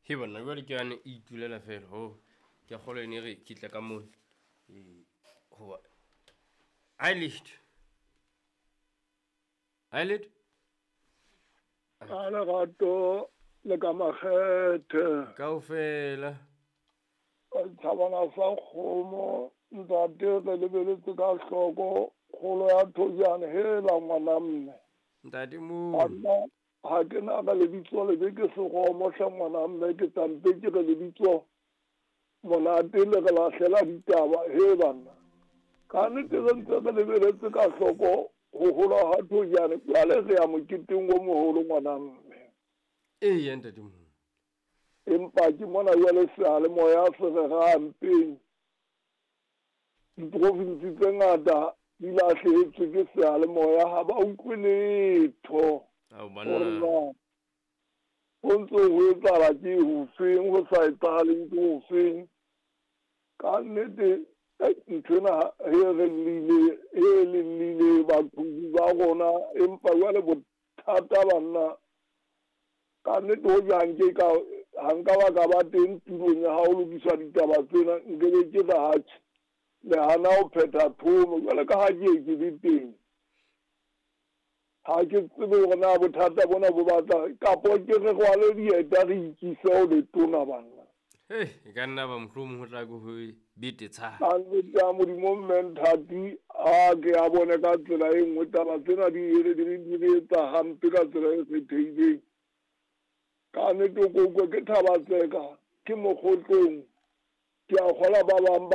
He banna jwale ke yane e itulela fela ho ke a kgolwa ene re ke tla ka mona. Ee, hoba ha e letho. Ha e letho. Ka lerato le ka makgethe. Kaofela. Thabana sa kgomo ntate re lebeletse ka hloko kgolo ya thojane hela ngwana mme. Ntate mo. Nna ha ke na ka lebitso lebe ke seromo hle ngwana mme ke tlampe ke re lebitso monate le re lahlela ditaba he banna. Ka nnete re ntse re lebeletse ka hloko ho hola ha thojane jwale re ya moketeng o moholo ngwana mme. Eya ntate mo. Empa ke mona jwale seyalemoya se re rampeng. Diprovinsi tse ngata di lahlehetswe ke seyalemoya ha ba utlwe letho. Ao banna. Ho ntse ho etsahala ke hofeng ho sa etsahaleng ke hofeng. Ka nnete nthwena he re llile he le llile baqhubu ba rona empa jwale bothata banna ka nnete ho jang ke ka ha nka ba ka ba teng tulong ya ha ho lokiswa ditaba tsena nkebe ke re hatjhe le hana ho phetha thomo jwale ka ha ke ye ke le teng. Ha ke tsebe hore na bothata bona bo batla kapo ke re rwale dieta re ikise ho letona banna. Hei, e ka nna ba mohlomong ho tla ke ho betetsha. Ka nnete ya Modimo mme Nthati a ke a bone ka tsela e nngwe taba tsena di re di re etsa hampe ka tsela e kgethehileng. Ka nnete o ko utlwe ke Thaba Tseka ke mokgotlong ke a kgola ba bang ba.